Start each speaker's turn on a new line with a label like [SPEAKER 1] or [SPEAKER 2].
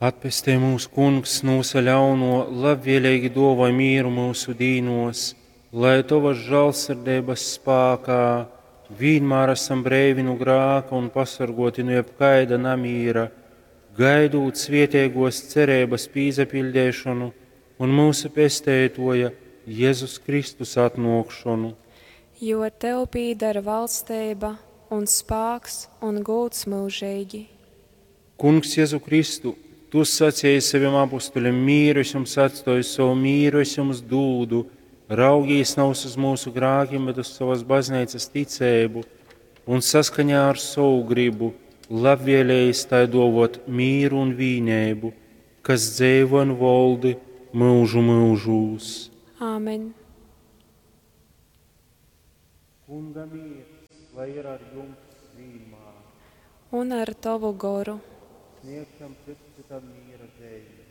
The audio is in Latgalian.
[SPEAKER 1] Atpestej mūs, Kungs, nu vysa ļaunuo, labvieleigi duovoj mīru myusu dīnuos, lai tovas žālsirdeibas spākā vīnmār asam breivi nu grāka un pasorguoti nu jebkaida namīra, gaidūt svieteiguos cereibys pīsapiļdeišonu un myusu Pesteituoja Jezus Kristus atnuokšonu.
[SPEAKER 2] Jo tev pīdar valsteiba un spāks un gūds myužeigi.
[SPEAKER 1] Kungs Jezu Kristu, tu saceji sovim apustulim, mīru es jums atstoju, sovu mīru es jums dūdu. Raugīs navys uz mūsu grākim, bet uz sovas bazneicas ticeibu un saskaņā ar sovu gribu labvēlējis tai duovot mīru un vīneibu, kas dzeivo un voldi myužu myužūs.
[SPEAKER 2] Āmen.
[SPEAKER 1] Kunga mīrs, lai ir ar jums vīnmār.
[SPEAKER 2] Un ar tovu goru.
[SPEAKER 1] Sniegsim cits citam mīra zeimi.